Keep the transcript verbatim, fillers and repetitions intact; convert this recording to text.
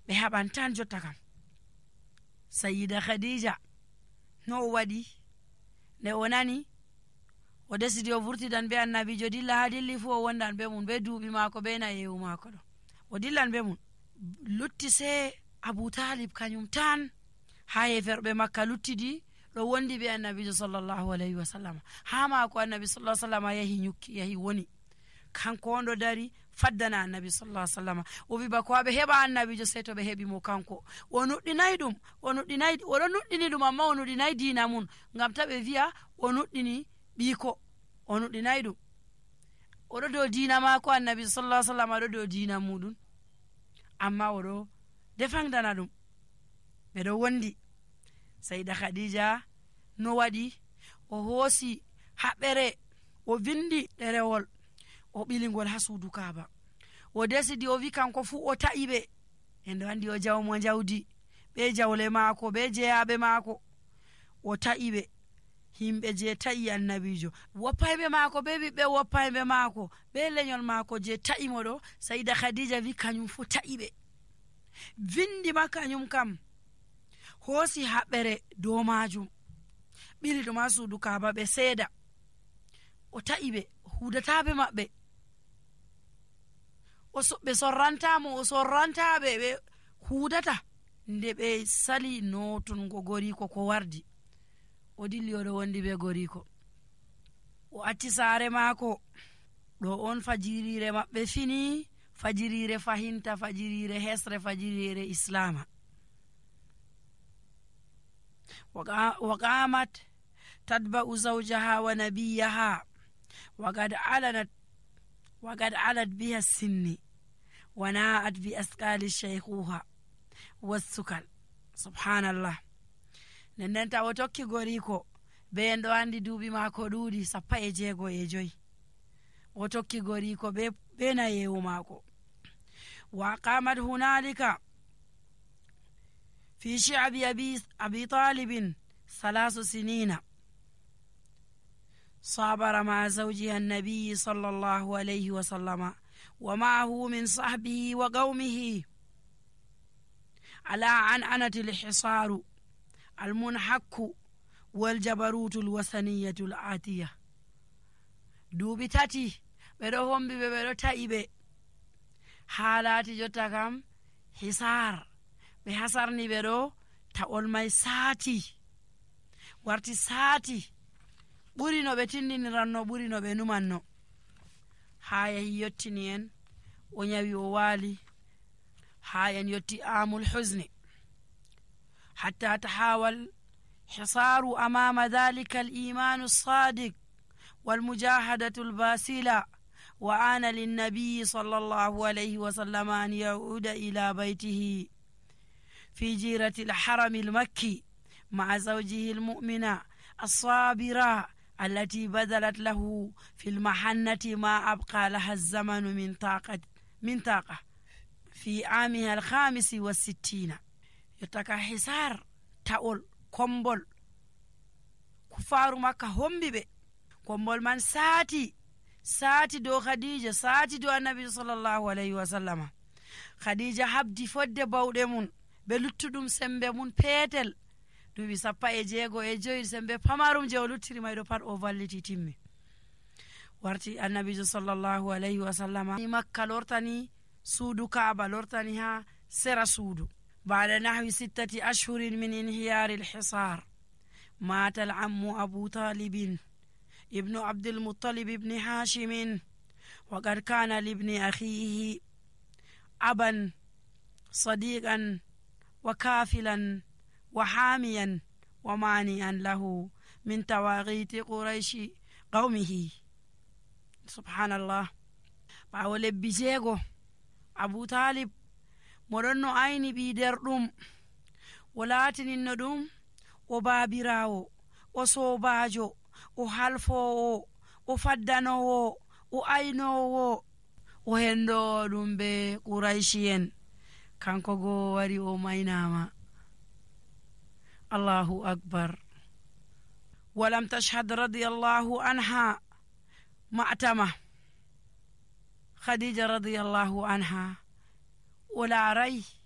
ɓe haɓan tan jotta kam. Sayyida Khadija no o waɗi nde o nani o desidi o vurtidan be annabijo dilla ha dilli fu o wondan be mun be duuɓi maako be nayewu maako ɗo o dillan be mun. Lutti se Abu Talib kanyum tan ha yeferɓe Makka luttidi ɗo wondi be annabijo sallallahu alayhi wa sallam. Ha maako annabi sallallahu alayhi wa sallam yahi nyukki yahi woni kanko on ɗo dari faddana annabi sallallahu alayhi wa sallam. O wi bako ɓe heɓa annabijo sey to ɓe heɓi mo kanko. O nuɗɗinayi ɗum o nuɗɗinayi oɗo nuɗɗini ɗum amma o nuɗɗinayi diina mun ngam ta ɓe wi'a o nuɗɗini ɓiiko. O nuɗɗinayi ɗum oɗo dow diina maako annabi sallallahu alayhi wa sallam aɗo dow diina muɗum amma oɗo defangdana ɗum ɓeɗo wondi. Sayda Khadija no waɗi o hoosi haɓere o vindi ɗerewol o ɓilingol ha suudu Kaaba. O desidi o wi kanko fu o ta'i ɓe en ɗo andi o jawmo jawdi ɓe jawle maako ɓe jeyaɓe maako. O ta'i ɓe himɓe je ta'i annabijo woppayɓe maako be ɓiɓɓe woppayɓe maako be lenyol maako je ta'i mo ɗo. Sayda Khadija wi kanyum fu ta'i ɓe vindi ma kanyum kam hoosi haɓere dow majum ɓili ɗum ha suudu Kaaba ɓe seeda. O ta'i ɓe hudataɓe maɓɓe ɓe sorrantamo o sorrantaɓe ɓe hudata. Nde ɓe sali notungo goriko ko wardi o dilli oɗo wondi be goriko o acci saare maako. Ɗo on fajirire maɓɓe fini, fajirire fahinta, fajirire hesre, fajirire islama. وقامت تتبع زوجها ونبيها وقد علنت وقد علت بها السن وناءت بأثقال الشيخوخة والسكل. سبحان الله. nendenta o tokki goriko be en ɗo andi duuɓi maako ɗuuɗi sappa e jeego e joyi. O tokki goriko be be nayewu maako. wa qamat hunalika في شعب أبي, أبي طالب ثلاث سنين صابر مع زوجها النبي صلى الله عليه وسلم ومعه من صحبه وقومه على عنعنة الحصار المنحك والجبروت الوثنية الآتية. دوبي تاتي بيرو هم بي بيرو تايبه حالاتي جوتا كام حصار ɓe hasarni ɓe ɗo ta'ol may saati warti saati ɓuri no ɓe tindiniranno ɓuri no ɓe numanno. haa yahi yottini en o nyawi o waali haa en yotti amul husni hatta tahawal hisaru amama dhalika al imanu sadiq wal mujahadatu al basila wa ana lin nabiy sallallahu alayhi wa sallam an yauda ila baytihi في جيرة الحرم المكي مع زوجه المؤمنة الصابرة التي بذلت له في المحنة ما أبقى لها الزمن من طاقة من طاقة في عامها الخامس والستين. يتكا حسار تقول كومبول كفار مكة هم بي كومبول من ساتي ساتي دو خديجة ساتي دو النبي صلى الله عليه وسلم. خديجة habdi fodde bawɗe mun ɓe luttuɗum sembe mun peetel duuɓi sappa e jeego e joyi sembe pamarum je o luttiri mayɗo pat o valliti timmi. warti annabijo sallallahu alayhi wa sallam makka lortani suudu Kaaba lortani ha sera suudu. ba'da nahwi sittati ashhurin min inhiyari alhisar mata al-ammu abu talibin ibnu abdul muttalib ibn hashim wa qad kana li ibni akhihi aban sadiqan وكافلا وحاميا ومانعا له من تواغيت قريش قومه. سبحان الله. ɓawo lebbi jeego Abu Talib moɗon no ayni ɓi nder ɗum o laatininno ɗum o baabirawo o sobajo o halfowo o faddanowo o aynowo o hendo ɗum be Qurayshi kanko go wari o maynama. Allahu akbar. walam tashhad radiyallahu anha ma'tama. Khadija radiyallahu anha o laaray